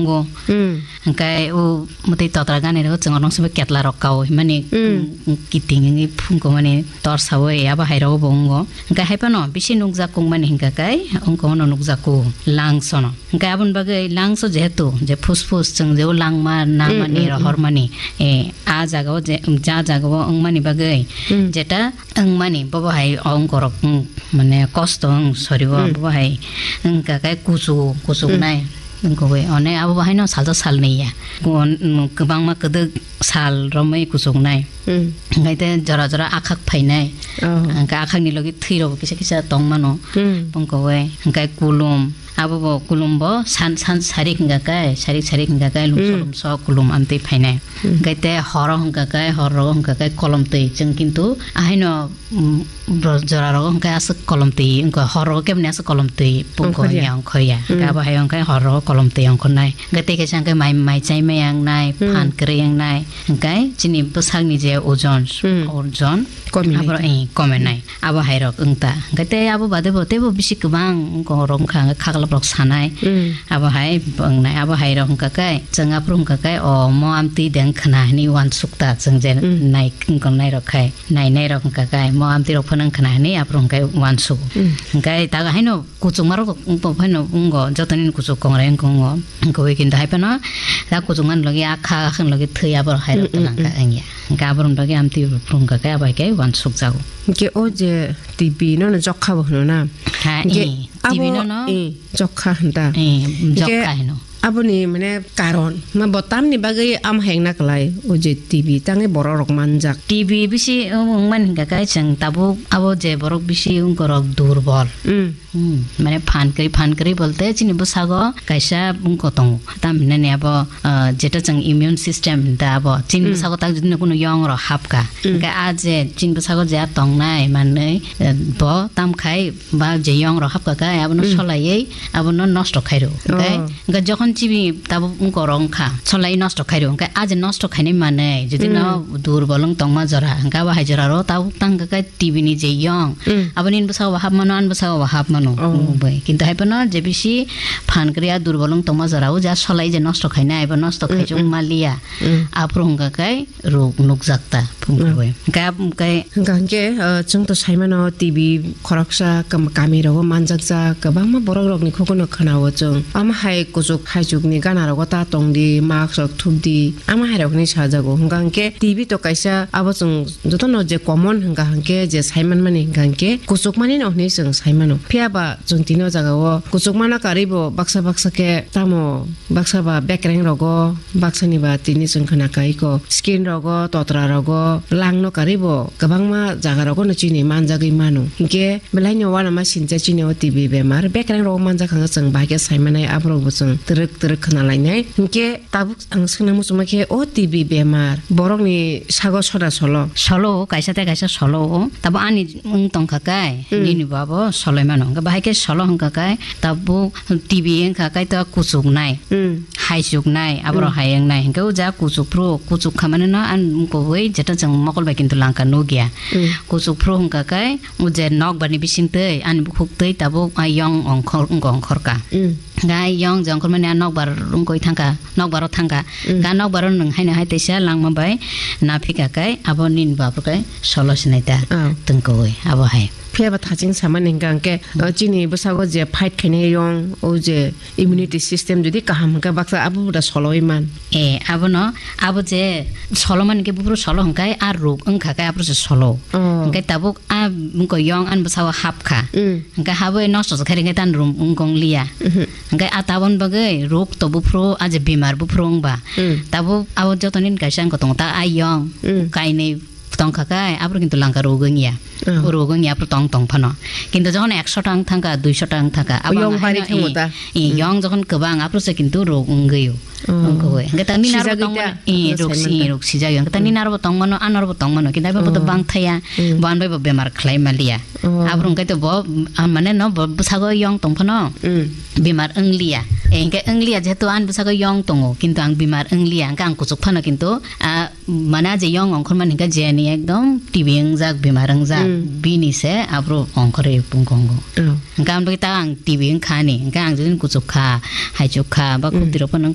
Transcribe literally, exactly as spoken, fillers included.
Ngo. Hmm. Hingke o mwtwi totra gani rok chwng rong sabo ketla rok kao himani, Hmm. mm, kiting wngwi phungko mani tor sawi abo hai rok bo wngo. Hingke hai phano bisi nukjak kung mani hingka kai wngko no nukjak kung langsono. Hingke aboni bagwi langso jehetu je phus phus chwng je o langma na Hmm, mani hmm, rohor hmm. mani, eh, a jaga o je, ja jaga o wngmani bagwi Hmm. jeta wngmani bobo hai wngkorok wng mane kosto wng sori o Hmm. bobo hai wngka kai kuchuk kuchuk Hmm. nai. Wngkogwi, one abo bahaino salsa salnwi ya. Gon-, mm, kwbangma kwdwk sal romwi kuchuknai. Hmm. Hingkhe te jora jora akhak phainai. Oh. Hingkhe akhakni logi thwi rokbo kisa kisa tongmano. Hmm. Wngkogwi, hingkhe kulum. Abobo kulumbo san, san sarik hingkha khe, sarik sarik hingkha khe, lumso Hmm. lumso kulum amtwi phainai. Hmm. Hingkhe te horo hingkha khe, horo hingkha khe kolom twi. Chwng kintu ahaino mm, bro-, jora rogo hwnkhe aswk kolom twi wngkha, hor rogo keboni aswk kolom twi pungko Ongkhorya. Wngya ongkhorya. Hwnkhe Mm. abo hai wngkhe hor rogo kolom twi ongkhornai. Hwnkhe tei kaisa hwnkhe mai, mai chai maya wngnai, Mm. phan kwrwi wngnai. Hwnkhe chini bwsakni je ojon, Mm. ojon, Kominai. Abo, eh, komenai. Abo hai rok wngta. Hwnkhe tei abo bade bo teibo bisi kwbang wngkha, rok wngkha hwnkhe khaklap rok sanai. Mm. Abo hai wngnai, abo hai rok wngkha khe, chwng aphuru wngkha khe, o mo amtwi de wngkhwna hinwi uansukta chwng je Mm. nai wngkha nai rok khai. Nainai rok hwnkha khe, mo amtwi rok phano wngkhwna hinwi aphuru hwnkhe uansuk. Mm. Hwnkhe tago haino kuchukma rok wngkha phano wngo, joto nini kuchuk kongrai wngkha wngo. Wngkha wi kintu hai phano ta kuchukmani logi akha, akhani logi thwi abo rok hai rok Mm, mm, twlang kha mm. wngya. Hwnkhe abo rok logi amtwi rok phuru wngkha khe abo hai khe uansuk jago. Hwnkhe o je T V no no jokha bo hwno na? Ha, Hwnkhe eh, T V abo, no no? eh, jokha hwn ta. Eh, Hwnkhe jokha hino. Aboni mane karon ma bo tamni bagwi am hengna kwlai o je T V tangwi borok rok manjak. T V bisi wng-, wngmani hingka khe chwng tabuk abo je borok bisi wngkorok durbol. Mm. Hmm, mane phan kwrwi, phan kwrwi bolte chini bwsago kaisa wngko tongo. Tam hinani abo, ah, jeta chwng immune system hinta abo chini Mm. bwsago tak jodi no kunu yong rok hapka. Mm. Hingke a je chini bwsago je a tongnai manwi, eh, bo tam khai ba je yong rok hapka khe abono Mm. solaiwi abono nosto khairo. Hingke, Oh. hingke jokhon chibi tabuk wngkorok wngkha, solaiwi nosto khairo. Hingke a je nosto khainai manwi, jodi no Mm. durbol wng tongma jora, hingke abo hai jora ro tabuk tang khe T V ni je yong, Mm. abo nini bwsao bo hap mano, ani bwsao bo hap mano, Oh. wngwi. Kintu hai phano je bisi phan kwrwi a durbol wng tongma jora o, je a solai je nosto khainai, abo nosto Mm, khaijak mm. maliya. Mm. Aphuru hingka khe rok nukjak ta, phung Mm. kwrwi. Hingke, hingke Hingka hingke, uh, chwng to sai mano T V khoroksa kam-, kami rogo manjakjak, kwbangma borok rokni khukuno khwnao chwng. Omo hai kuchuk haichukni gana rogo ta tongdi, mask rok thupdi, omo hai rokni sajago. Hingka hingke T V to kaisa abo chwng jotono je common hingka hingke je sai manmani hingka hingke kuchukmani no hinwi chwng sai mano. Phiya ba chwng tini o jaga o kuchukmano karwi bo baksa baksa khe tamo baksa ba bekreng rogo, baksa ni ba tini chwng khna kai ko skin rogo, totra rogo, lang no karwi bo kwbangma jaga rogo no chini manjagwi mano. Hingke belai no uanama sincha chini o T B bemar bekreng rogo manjak hwnga chwng bahai khe sai manai, aborok bo chwng twrwk twrwk khna lainai. Hingke tabuk ang swngna muchungma khe o T B bemar borokni sago soda solo? Solo, kaisa tei kaisa solo o. Tabo ani wng tongkha kai, Hmm. nini bo abo soloi mano. Hwnkhe bahai khe solo hwnkha kai, tabuk T B wngkha kai to kuchuknai, Hmm. haichuknai, aborok Hmm. hai wngnai. Hwnkhe o ja kuchuk phuru, kuchuk kha mani no ang kubui jeta chwng mokol bai kintu langkha nukya. Hmm. Kuchuk phuru hwnkha kai, o je nokbar ni bising twi, ani bukhuk twi tabuk a yong ongkhor, wngkha ongkhorka. Hmm. Gai yong jongkhor mani a nokbar wngkoi thangkha, nokbar o thangkha. Mm. Ga nokbar o nwng haino hai teisa langma bai naphika kai abo nini bapro kai solo sinai ta Oh. tungkoi abo hai. Phiya ba thaching samani hingka hingke, Mm. o chini bwsago je fight khainai yong, o je immunity system jodi kaham hingka baksa abo da soloi man. E, abono, abo je solo man hingke buburu solo hingkai a ruk wngkha kai abro se solo. Oh. Hingke tabuk a wngkoi yong ani bwsago hapkha. Mm. Hingke haboi nosto se khairi hingke tan rum wngkong liya. Mhm. Hingke a tabon bagwi ruk to buphuru, a je bimar buphuru wngba. Mm. Tabuk abo joto nini kaisa wngkha tongo, ta ayong, Mm. kainwi tongkha kai, aphuru kintu langka ruk wngya. Oh. O ruk wngya aphuru tong tong phano. Kintu jokhon ekso ta wng thangkha, duiso ta wng thangkha, abo Yong ang bari haino thango i, ta? i, Mm. yong jokhon kwbang, aphuru se kintu ruk wngwi o. Oh. Wngkha oi. Hingke ta nini aro Sijagwi tong ta? mano, i, Aphuru ruk sai si, manta. ruk sijagwi. Hingke ta Mm. nini aro bo tong mano, ano aro bo tong mano, kintu abo bo to Oh. bang thaya, Mm. bo ano bai bo bemar khlai maliya. Oh. Aphuru hingke to bo, ah, mane no bo bwsago yong tong phano. Mm. Bimar wngliya. Eh, hingke wngliya jehetu ani bwsago yong tongo, kintu ang bimar wngliya, hingke ang kuchuk phano kintu, ah, mane a je yong ongkhor mani hingke jeni ekdom T B wngjak, bimar wngjak, Mm. bini se aphuru ongkhorwi pungkongo. Oh. Hingke ang bagwi ta ang T B wngkha ni, hingke ang jodi kuchuk kha, haichuk kha, ba Mm. khuk tirok phano